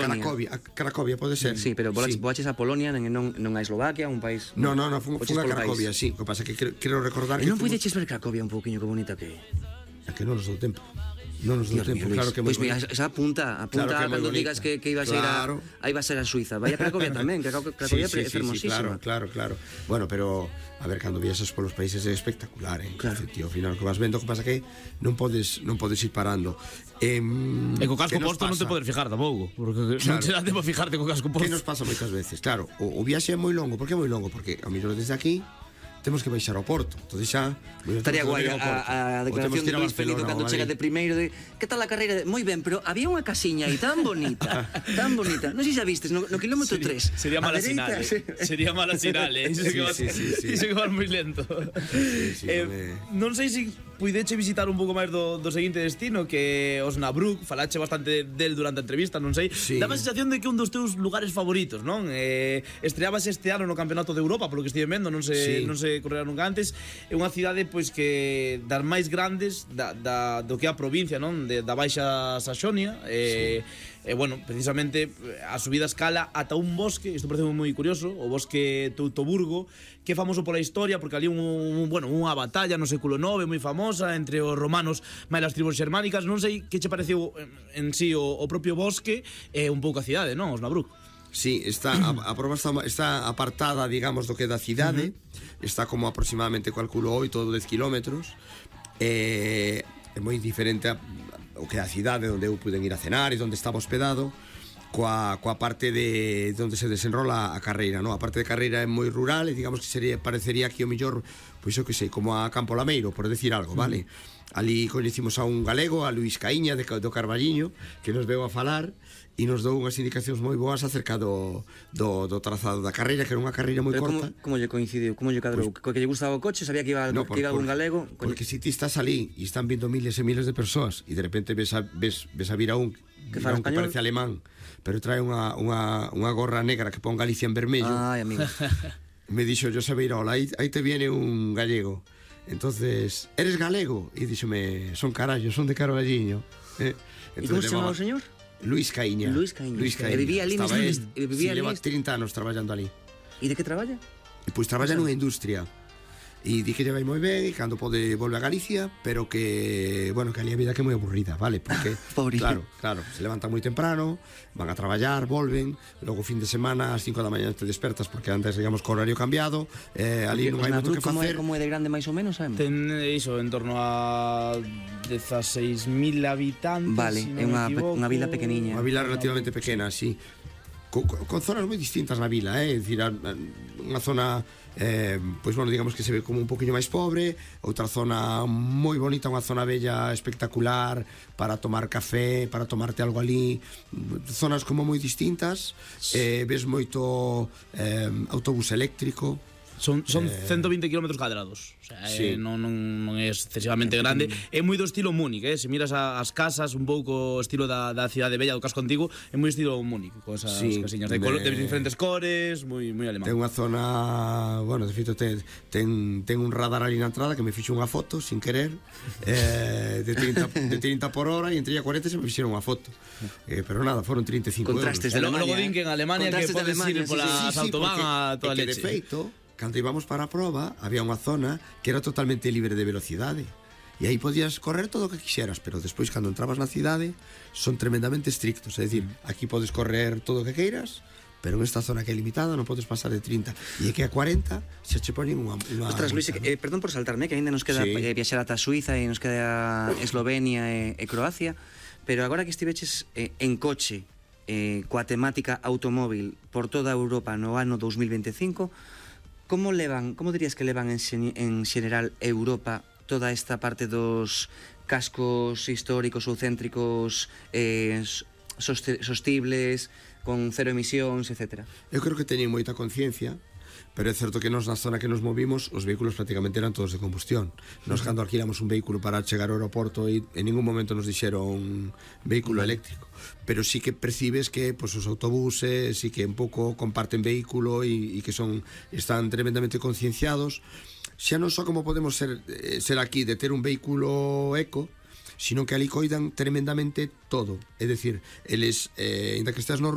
Cracovia pode ser. Sí, pero voaches a Polonia, non a Eslovaquia, un país... Non, fun a Cracovia, sí. O que pasa é que quero recordar que... E non puideches ver Cracovia un pouquiño que bonita que é? É que non nos dou tempo. Non nos dou tempo, claro que é moi bonito. Pois esa apunta cando digas que ibas a ir aí vas a ir a Suiza. Vai a Cracovia tamén, que Cracovia é fermosísima. Claro. Bueno, pero a ver, cando viaxas polos países é espectacular, Claro. Tío, ao final o que vas vendo, o que pasa que non podes ir parando. E co casco posto non te podes fijar tampouco, porque non te dá tempo a fijarte co casco posto. Que nos pasa moitas veces? Claro, o viaxe é moi longo. Por que é moi longo? Porque a mellor desde aquí temos que baixar ao Porto. Entonces xa estaría guai a declaración de Luis Pelito cando chega de primeiro de que tal a carreira? Moi ben, pero había unha casiña aí tan bonita. Non sei se a vistes no kilómetro 3. Sería mala sinal. Sería mala sinal, Iso que vas moi lento. Non sei se puideche visitar un pouco máis do seguinte destino, que Osnabrück. Falache bastante del durante a entrevista, non sei. Daba a sensación de que un dos teus lugares favoritos, non? Estreabas este ano no Campeonato de Europa, polo que estive vendo, non se correra nunca antes. É unha cidade pois que das máis grandes do que é a provincia, non? Da Baixa Saxonia. Bueno, precisamente a subida a escala ata un bosque, isto parece moi curioso, o bosque Teutoburgo, que é famoso pola historia, porque ali unha batalla no século IX moi famosa entre os romanos máis as tribus xermánicas. Non sei que che pareceu en sí o propio bosque e un pouco a cidade, non? Osnabrück. Sí, a prova está apartada, digamos, do que da cidade. Está como aproximadamente, calculo, 8 ou 10 kilómetros. É moi diferente o que a cidade onde eu puiden ir a cenar e onde estaba hospedado, coa parte de onde se desenrola a carreira, non? A parte de carreira é moi rural e digamos que parecería aquí o mellor, pois eu que sei, como a Campo Lameiro, por decir algo, vale? Ali coñecimos a un galego, a Luís Caíña do Carballiño, que nos veu a falar e nos dou unhas indicacións moi boas acerca do trazado da carreira, que era unha carreira moi corta. Como lle coincidiu? Como lle cadrou? Que lle gustaba o coche? Sabía que iba un galego? Porque se ti estás ali e están vindo miles e miles de persoas e de repente ves a vir a un que parece alemán, pero trae unha gorra negra que pon Galicia en vermello. Ai, amigo. Me dixo Josebeirol, aí te viene un gallego. Entonces, eres galego? E díxome, son carallo, son de Carballiño. E como se chamaba o señor? Luís Caíña. E vivía ali lleva 30 anos traballando ali. E de que traballa? Pois traballa nunha industria. E di que lle vai moi ben e cando pode volve a Galicia, pero que, bueno, que ali a vida que é moi aburrida, vale? Porque, claro, se levantan moi temprano, van a traballar, volven, logo fin de semana ás 5 da mañá te despertas porque antes, digamos, co horario cambiado, ali non hai moito que facer. Como é de grande máis ou menos, sabemos? Ten iso, en torno a 16.000 habitantes. Vale, é unha vila pequeniña. Unha vila relativamente pequena, sí. Con zonas moi distintas na vila, é dicir, unha zona pois bueno, digamos que se ve como un poquinho máis pobre, outra zona moi bonita, unha zona bella espectacular para tomar café, para tomarte algo ali, zonas como moi distintas. Ves moito autobús eléctrico. Son 120 km cadrados. O sea, non é excesivamente grande. É moi do estilo Múnich, se miras as casas, un pouco estilo da cidade bella do casco antigo, é moi estilo Múnich, con esas casiñas de diferentes cores, moi alemán. Ten unha zona, bueno, de feito ten un radar ali na entrada que me fixo unha foto sin querer, de 30 por hora, e entre a 40 se me fixeron unha foto. Pero nada, foron 35 Contrastes de Alemania. Logo din que en Alemania que podes ir polas autobahn a toda leche. De feito, cando íbamos para a proba, había unha zona que era totalmente libre de velocidade. E aí podías correr todo o que quixeras, pero despois, cando entrabas na cidade, son tremendamente estrictos. É dicir, aquí podes correr todo o que queiras, pero en esta zona que é limitada non podes pasar de 30. E que a 40 se che ponen unha... Ostras, Luis, perdón por saltarme, que ainda nos queda viaxar ata Suiza e nos queda Eslovenia e Croacia, pero agora que estiveches en coche coa temática automóvil por toda Europa no ano 2025, como dirías que levan en xeral Europa toda esta parte dos cascos históricos ou céntricos sostibles, con cero emisións, etc.? Eu creo que teñen moita conciencia, pero é certo que nos na zona que nos movimos os vehículos prácticamente eran todos de combustión. Nos cando alquilamos un vehículo para chegar ao aeroporto e en ningún momento nos dixeron vehículo eléctrico, pero sí que percibes que pues, os autobuses sí que un pouco comparten vehículo e que están tremendamente concienciados, xa non só como podemos ser aquí de ter un vehículo eco, sino que ali coidan tremendamente todo. É dicir, eles, ainda que estés no